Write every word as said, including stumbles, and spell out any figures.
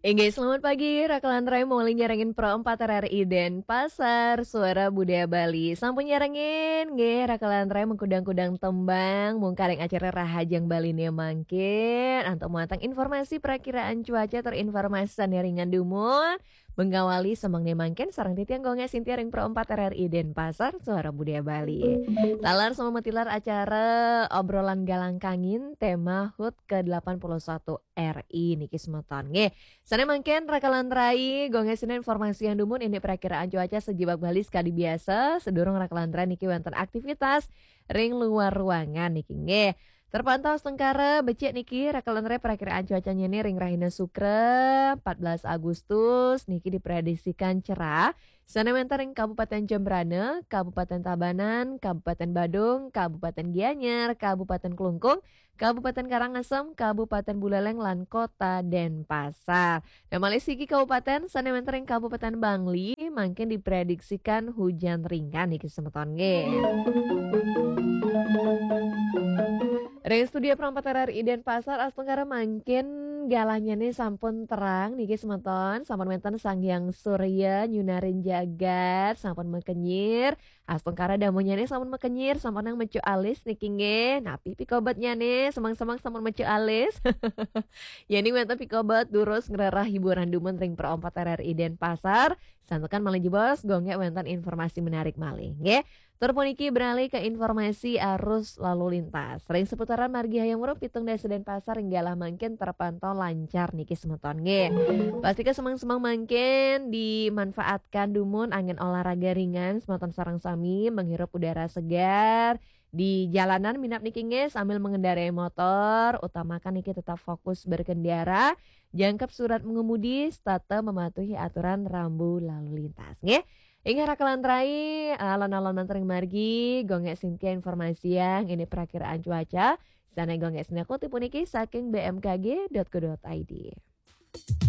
Inggih, selamat pagi, Raka lan Rai, mangkin nyarengin Pro empat R R I Denpasar, Suara Budaya Bali. Sampun nyarengin, nggih, Raka lan Rai, mengkudang-kudang tembang, mungkaring acara Rahajeng Bali ne mangkin, antuk muatang informasi perakiraan cuaca tur informasi sane ringan dumun, mengawali semeng ne mangkin, sareng titiang Gung Sintia ring Pro empat R R I Denpasar, Suara Budaya Bali. Taler semeng matilar acara obrolan Galang Kangin, tema hut ke delapan puluh satu R I niki semeton. Nggih, sane mangkin Raka lan Rai, Gung Sintia informasiang dumun indik perakiraan cuaca sajebag Bali sekadi biasa, sedurung Raka lan Rai niki wenten aktivitas ring luar ruangan niki nggih. Terpantau astungkara becik niki Raka lan Rai perakiraan cuacanyane ring rahina Sukra, empat belas Agustus niki diprediksikan cerah. Sane wenten ring Kabupaten Jembrana, Kabupaten Tabanan, Kabupaten Badung, Kabupaten Gianyar, Kabupaten Klungkung, Kabupaten Karangasem, Kabupaten Buleleng, lan Kota Denpasar. Nah, malih siki kabupaten sane wenten ring Kabupaten Bangli mangkin diprediksikan hujan ringan niki semeton nggih. Ring studio Pro empat R R I Denpasar, astungkara mangkin galahnyane sampun terang niki semeton, sampun wenten Sang Hyang Surya nyunarin jagat, sampun makenyir, astungkara damunyane sampun makenyir, sampun nang mecu alis niki nggih. Napi pikobetnyane, semeng-semeng sampun mecu alis? Yening wenten pikobet durus ngrereh hiburan dumun ring Pro empat R R I Denpasar, santukan malih jebos, Gung wenten informasi menarik malih nggih. Tur puniki beralih ke informasi arus lalu lintas. Ring seputaran Margi Hayam Wuruk pitung dasa Denpasar ring galah mangkin terpantau lancar niki semeton nggih. Pastika semeng-semeng mangkin dimanfaatkan dumun anggen olahraga ringan semeton sareng sami menghirup udara segar di jalanan minab niki nggih sambil mengendarai motor, utamakan niki tetap fokus berkendara, jangkep surat mengemudi, serta mematuhi aturan rambu lalu lintas nggih. Inggih Raka lan Rai, alon-alon manten ring margi, Gung Sintia informasiang indik perakiraan cuaca, sane Gung Sintia kutip puniki saking B M K G dot co dot I D.